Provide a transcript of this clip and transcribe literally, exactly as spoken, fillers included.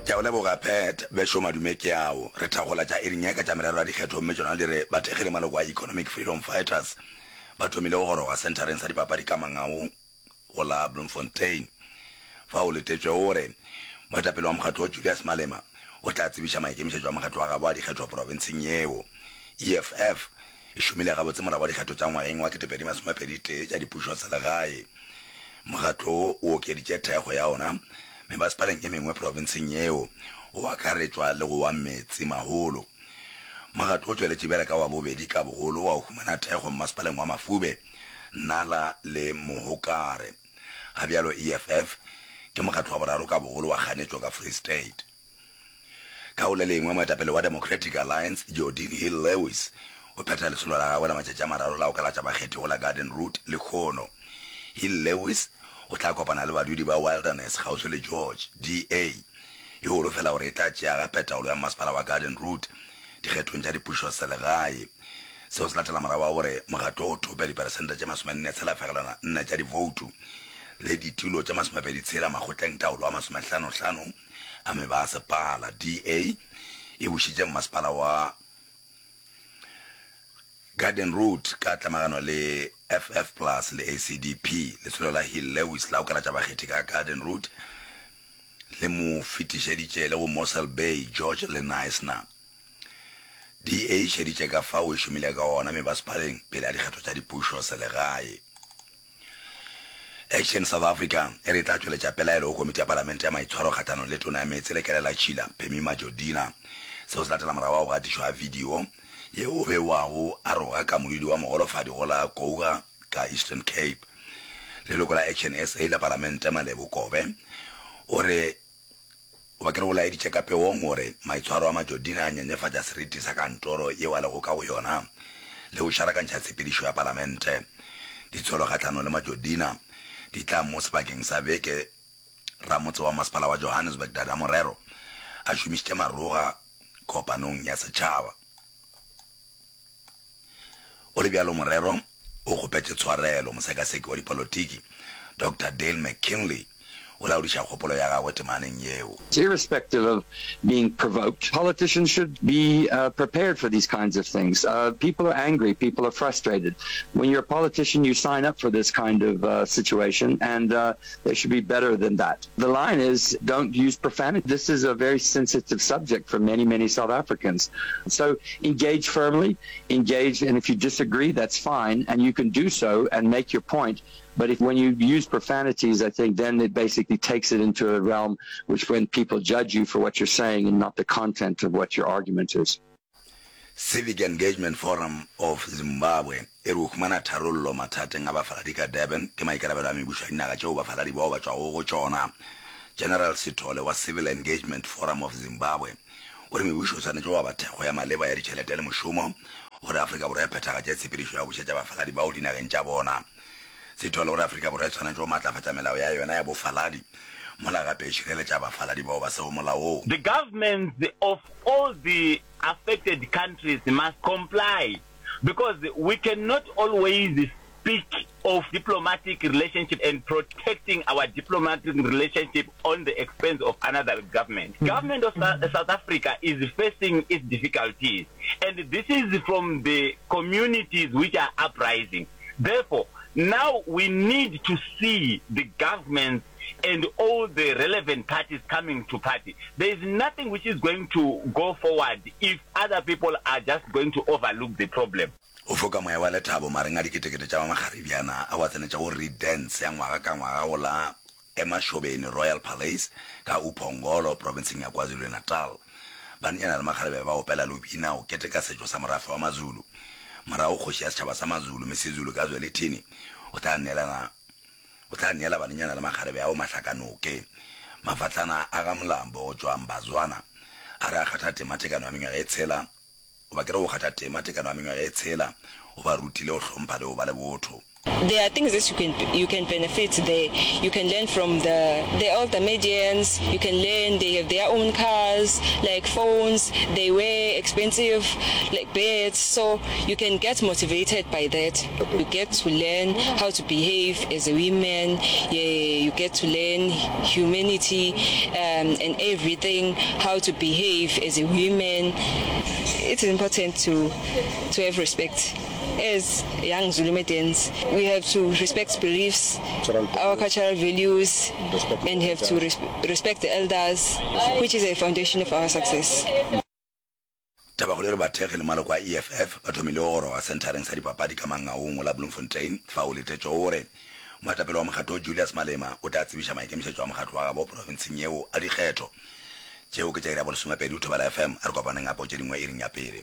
Ke a o leboga Pat, bešo madume ke ao. Re thakgola tša iring ye ka tša merero ya dikgetho gomme tšona di re bathekgi le maloko a Economic Freedom Fighters ba thomile go goroga senthareng sa dipapadi ka Mangau go la Bloemfontein. Fao letetšwego gore moetapele wa mokgatlo wo Julius Malema o tla tsebiša maikemišetšo a mokgatlo wa gabo a dikgetho profenseng yeo. EFF e šomile gabotse morago ga dikgetho tša ngwageng wa ketepedi masomepedi tee tša dipušoselegae. Mokgatlo wo o okeditše thekgo ya ona mebasepaleng e mengwe profenseng yeo, go akaretšwa le go wa Metsemaholo. Mokgatlo o tšweletše bjale ka wa bobedi ka bogolo wa go humana thekgo mmasepaleng wa Mafube, Nala le Mohokare. Ga bjalo EFF ke mokgatlo wa boraro ka bogolo wa kganetšo ka Free State. Ka go le lengwe, moetapele wa Democratic Alliance, Geordin Hill-Lewis, o phetha lesolo la gagwe la matšatši a mararo la go kalatša bakgethi go la Garden Route lehono. Hill-Lewis o tla kopana le badudi ba Wilderness kgauswi le George, DA e holofela gore e tla tšea gape taolo ya mmasepala wa Garden Route dikgethong tša dipušoselegae. Seo se latela morago ga gore mokgatlo o thope diperesente tše masomenne tshela fegelwana nne tša divoutu le ditulo tše masomepedi tshela makgotleng taolo a masomehlanohlano a mebasepala. DA e bušitše mmasepala wa Garden Route ka tlemagano le FF Plus le ACDP. Lesolo la Hill Lewis la go kalatša bakgethi ka Garden Route le mo fetišeditše le go Mossel Bay, George le Knysna. DA e šeditše ka fao e šomile ka gona mebasepaleng pele ga dikgetho tša dipušo selegae. Action South Africa e re e tla tšweletša pelaelo go Komiti ya Palamente ya Maitshwaro kgahlanong le Tona ya Meetse le Kelelatšhila, Pemmy Majodina. Seo se latela morago ga go gatišwa ga video yeo o bewago a roga ka modudi wa mogolofadi go la Kouga ka Eastern Cape. Leloko la Action SA la Palamente Malebo Kobe o re Goba ke re o laeditše ka peong gore maitshwaro a Majodina a nyenyefatša seriti sa kantoro yeo a lego ka go yona le go šarakantšha tshepedišo ya palamente. Ditsholo kgahlanong le Majodina di tla mo sebakeng sa beke ramotse wa masepala wa Johannesburg Dada Morero a šomišitše maroga kopanong ya setšhaba. Go le bjalo, Morero o kgopetše tshwarelo. Mosekaseki wa dipolotiki, Doctor Dale McKinley, o laodiša kgopolo ya gagwe temaneng yeo. Irrespective of being provoked, politicians should be prepared for these kinds of things. People are angry, people are frustrated. When you're a politician, you sign up for this kind of situation, and they should be better than that. The line is, don't use profanity. This is a very sensitive subject for many, many South Africans. So engage firmly, engage, and if you disagree, that's fine, and you can do so and make your point. But if when you use profanities, I think then it basically takes it into a realm which when people judge you for what you're saying and not the content of what your argument is. Civic Engagement Forum of Zimbabwe e re go humana tharollo mathateng a bafaladi ka Durban ke maikarabelo a mebušo ya dinaga tšeo bafaladi bao ba tšwago go tšona. General Sithole wa Civil Engagement Forum of Zimbabwe o re mebušo e swanetše go aba thekgo ya maleba ya ditšhelete le mošomo gore Afrika Borwa e phethagatše tshepedišo ya go bušetša bafaladi bao dinageng tša bona. Sithole o re Afrika Borwa e swanetše go matlafatša melao ya yona ya bofaladi mola gape e šireletša bafaladi bao ba sego molaong. The governments of all the affected countries must comply because we cannot always speak of diplomatic relationship and protecting our diplomatic relationship on the expense of another government. Government of South Africa is facing its difficulties and this is from the communities which are uprising. Therefore, now we need to see the governments and all the relevant parties coming to party. There is nothing which is going to go forward if other people are just going to overlook the problem. O foka moya wa lethabo magareng a diketekete tša ba makgarebjana ao a tsenetšego Reed Dance ya ngwaga ka ngwaga go la Emashobeni Royal Palace ka uPhongolo profenseng ya KwaZulu-Natal. Banenyana le makgarebe ba opela le go bina go keteka setšo sa morafe wa Mazulu. Morago kgoši ya setšhaba sa Mazulu, Misizulu kaZwelithini, o tla neelana o tla neela banenyana le makgarebe ao mahlakanoke. Mafahlana a ga Mlambo go tšwa Mbazwana a re a kgatha tema tekano ya mengwaga e tshela goba ke re go kgatha tema tekano ya mengwaga e tshela o ba rutile go hlompha le go ba le botho. There are things that you can you can benefit there. You can learn from the the older medians. You can learn they have their own cars, like phones. They wear expensive like beds, so you can get motivated by that. You get to learn how to behave as a woman. Yeah, you get to learn humanity um, and everything, how to behave as a woman. It's important to to have respect. As young Zulu maidens, we have to respect beliefs, our cultural values, and have to res respect the elders, which is a foundation of our success. Tabakgolo e re bathekgi le maloko a E F F ba thomile go goroga senthareng sa dipapadi ka Mangaung go la Bloemfontein fao letetšego gore moetapele wa mokgatlo Julius Malema o tla tsebiša maikemišetšo a mokgatlo wa gabo profenseng yeo a dikgetho. Tšeo ke tša iri ya bolesomepedi go Thobela F M. A re kopaneng gape go tše dingwe iring ya pele.